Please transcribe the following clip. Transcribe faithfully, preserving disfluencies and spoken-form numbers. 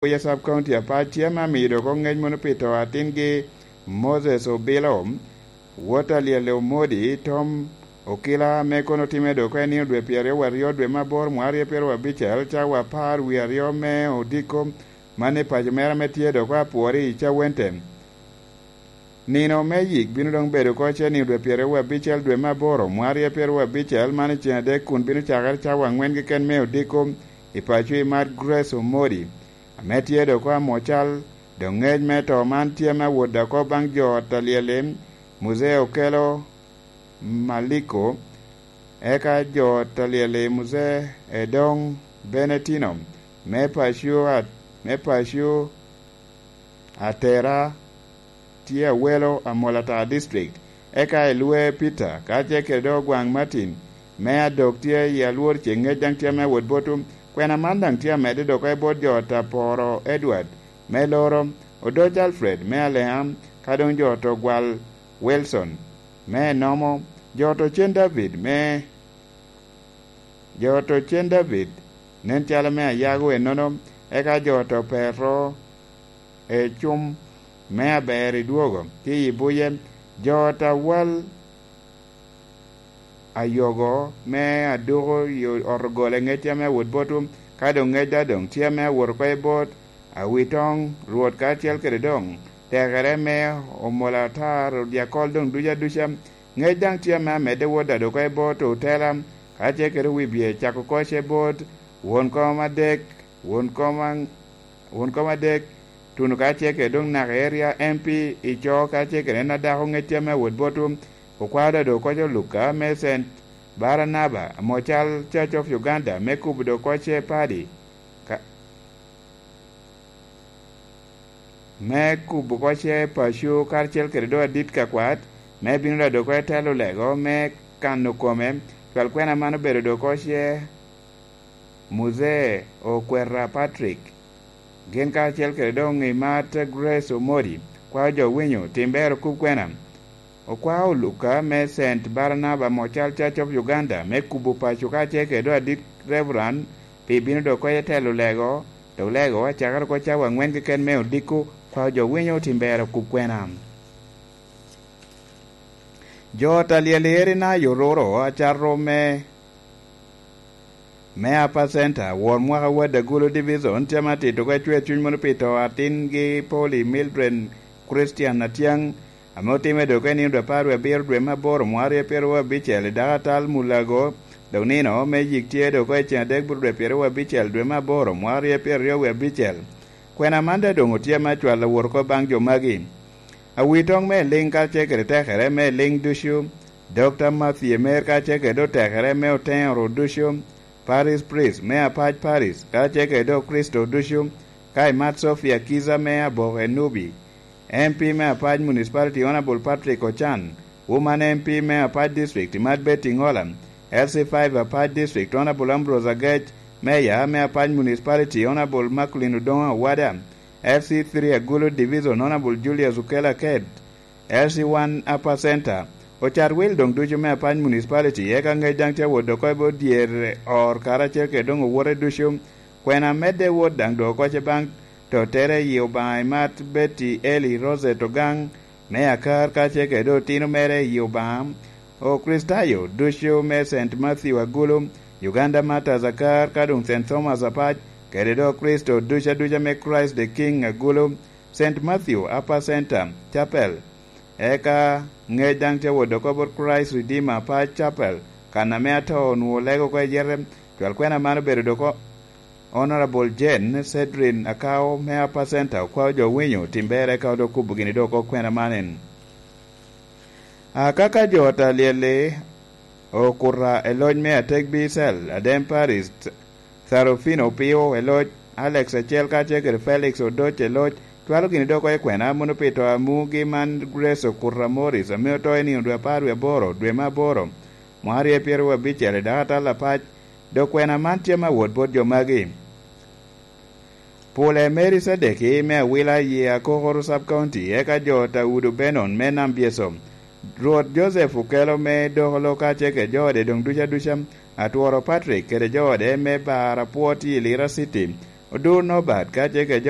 Buya Sub County apac tye ame amiyo dok ŋec mono pi to atingi Moses Obilo, wot a Lyelle Omodi, Tom Okila, ame kono otimme dok i nino dwe pyeraryo aryo dwe me aboro mwaka aryo pyeraryo abicel, cawa apar wie aryo me odiko, man i paco mere ame tye dok apwori i Cawente. Nino me yik bino doŋ bedo oko ce nino dwe pyeraryo abicel dwe me aboro mwaka aryo pyeraryo abicel, man i ceng adek, kun bino cakere cawa aŋwen keken me odiko i paco i Mad Grace Omodi, ame tye dok oko amocal. Doŋ ŋec me to man tye me awot oko baŋ jo ot a Lyelle, Muzee Okelo Maliko, eka jo ot a Lyelle, Muzee Edong Benetino, me paco a-, me paco Atera, tye Awelo, Amolatar District, eka i Lwe Peter, ka tye kede dok Ogwaŋ Martin, me adok tye i Alwor, ce ŋec daŋ tye me awot botwu. Kwena man daŋ tye amedde dok i bot jo ot a Poro Edward, me Loro, Odoc Alfred, me Aleam, ka doŋ jo ot Ogwal Wilson, me Enomo, jo ot Ocen David, me, jo ot Ocen David, nen calo me Ayago ennono, eka jo ot Opero, Ecum, me Aber i Dwogo, ki i Buye, jo ot Awal Ayogo, me Aduko i ot Ogole, ŋec tye me awot botwu, ka doŋ ŋec daŋ doŋ tye me awot oko i bot Awitoŋ, Rwot, kacel kede doŋ tekere me Omolatar, Odyakol, doŋ ducu aduca. Ŋec daŋ tye ame amedde wot daŋ dok oko i bot Otela, ka tye kede Wibye, cako oko ce bot won kom adek, won kom aŋ-, won kom adek, tuno ka tye kede doŋ naka eria M P i co, ka tye kede en adako, ŋec tye ame awot botwu, okwao daŋ dok oko ce Luka me Saint Barnaba, amo cal Church of Uganda, me kubo dok oko ce padi, ka, me kubo oko ce paco, karacel kede doŋ adit ka kwat, me bino daŋ dok oko i telo lego, me kano kome, cwal kwena man obedo dok oko ce Muzee Okwera Patrick, gin karacel kede doŋ i Mat Grace Omodi, kwao jo winyo, tim ber okub kwena. Okwao Luka me Saint Barnaba, amo cal Church of Uganda, me kubo paco, ka tye kede doŋ adit Reverend, pi bino dok oko i telo lego, dok lego acakere oko cawa aŋwen keken me odiko, kwao jo winyo, tim ber okub kwena. Jo ot a Lyelle eri na yo roro acato me, me Upper Center, wor mwaka Wad Agulu Division, tye ame atito ka cwer cuny mono pi to atingi Polly Mildred Christian Atyang, ame otimme dok i nino dwe apar wie abiro dwe me aboro mwaka aryo pyeraryo abicel i dako atal Mulago, dok nino me yik tye dok i ceng adek bur dwe pyeraryo abicel dwe me aboro mwaka aryo pyeraryo abicel. Kwena man daŋ doŋ otye ame acwalo wot oko baŋ jo magi. Awitoŋ me liŋ ka tye kede tekere me liŋ ducu, Dokta Matthew Emer ka tye kede otekere me oteŋo ru ducu, Parish Priest me apac Parish ka tye kede Okricito ducu, ka imat Sophia Kiza me Aboke Nubi, M P me apac Municipality Honorable Patrick Ochan, Woman M P me apac District imat Betty Ngola, L C five apac District Honorable Ambrose Agec, Mayor me apac Municipality Honorable Macklin Odongo Awada, F C three Agulu Division Honorable Julius Okello Aked, F C one Upper Center, ocat wil doŋ ducu me apac Municipality, eka ŋec daŋ tye awot oko i bot dyere or karacel kede doŋ owote ducu. Kwena medde wot daŋ dok oko ce baŋ totere i Obaŋa imat Betty Eli Rosette Ogang me Akar ka ce kede otino mere i Obaŋa. Okricitayo ducu me Saint Matthew Agulu, Uganda Martyrs Akar, ka doŋ Saint Thomas apac, kede doŋ Okricito ducu aduca me Christ the King Agulu, Saint Matthew Upper Center Chapel. Eka ŋec daŋ tye wot oko bot Christ Redeemer Apac Chapel, kan ame atoo onwoŋo lego oko i yete. Cwal kwena man obedo dok o-, Honorable Jane Cedrin Akao me Upper Center, okwao jo winyo tim ber, eka dok kubo gini dok oko kwena man en. Akaka jo ot a Lyelle okuta i loc me Atek Bicel, Adem Paris, Sarofino Opio i loc, Alex acel kacel kede Felix Odoc i loc, cwalo gini dok oko i kwena mono pi to a mugi man Grace Okuta Morris, ame oto i nino dwe apar wie aboro, dwe me aboro, mwaka aryo pyeraryo abicel i dako atal apac. Dok kwena man tye me awot bot jo magi. Pule Mary Sadeki me Awila i Akokoro Sub County, eka jo Taudo Benon me Nam Byeso, Rwot Joseph Okelo me Dokolo kacel kede jo ode doŋ ducu aduca, Atworo Patrick kede jo ode me Bar Apwot i Lira City, Odur Nobat kacel kede jo